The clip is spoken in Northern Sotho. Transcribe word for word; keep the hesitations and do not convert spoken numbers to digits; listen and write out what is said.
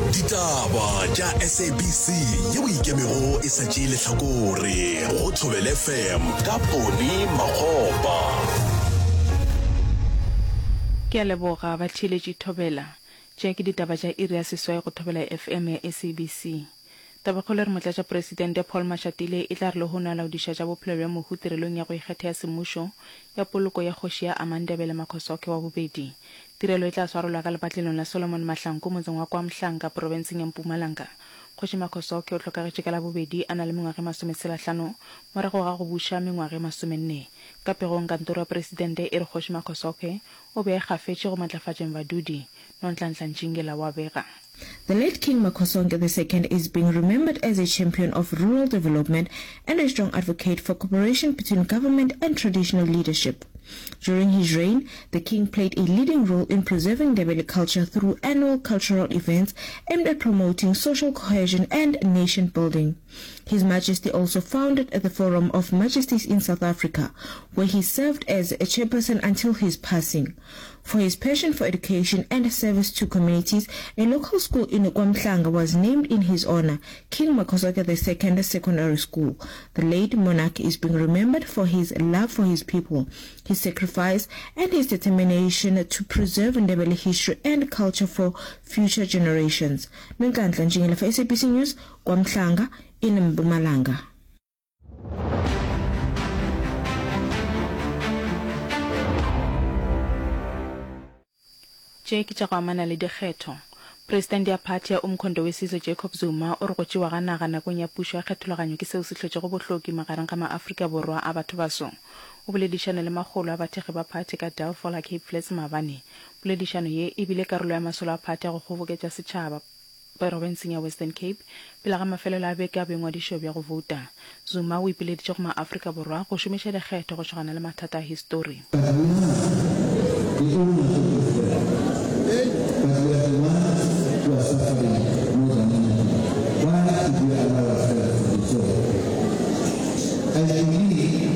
Ditaba tša S A B C yeo e ikemego e sa tšee lehlakore go Thobela F M ka Poni Makgopa. Ke a leboga batheeletši Thobela. Tše ke ditaba tša iri ya seswai go Thobela F M ya S A B C. Tabakgolo e re Motlatšapresidente Paul Mashatile e tla re lehono a laodiša tša bophelo bja mohu tirelong ya go ikgetha ya semmušo ya poloko ya kgoši ya Amandebele Makhosokhe wa bobedi. Tirelo e tla swarelwa ka lepatlelong la Solomon Mahlangu motseng wa KwaMhlanga profenseng ya Mpumalanga. Kgoši Makhosokhe o hlokagetše ka Labobedi a na le mengwaga e masometshelahlano morago ga go buša mengwaga e masomenne. Ka pegong kantoro ya presidente e re Kgoši Makhosokhe o be a ikgafetše go matlafatšeng badudi. Nonhlanhla Ntšingela wa bega. The late King Makhosonke the Second is being remembered as a champion of rural development and a strong advocate for cooperation between government and traditional leadership. During his reign, the king played a leading role in preserving Ndebele culture through annual cultural events aimed at promoting social cohesion and nation building. His Majesty also founded the Forum of Majesties in South Africa, where he served as a chairperson until his passing. For his passion for education and service to communities, a local school in KwaMhlanga was named in his honor, King Makhosonke the Second Secondary School. The late monarch is being remembered for his love for his people, his sacrifice, and his determination to preserve Ndebele history and culture for future generations. Nonhlanhla Ntshingila for S A B C News, KwaMhlanga in Mpumalanga. Tše ke tša go amana le dikgetho. Presidente ya phathi ya Umkhonto we Sizwe Jacob Zuma o re go tšewa ga naga nakong ya pušo ya kgethologanyo ke seo se hlotšego bohloki magareng ga maAfrika Borwa a bathobaso. O boledišane le makgolo a bathekgi ba phathi ka Delfol Cape Flats maabane. Poledišano ye e bile karolo ya masolo a phathi a go kgoboketša setšhaba profenseng ya Western Cape pele ga mafelelo a beke a boingwadišo bja go bouta. Zuma o ipileditše go maAfrika Borwa go šomiša dikgetho go šogana le mathata a histori. But now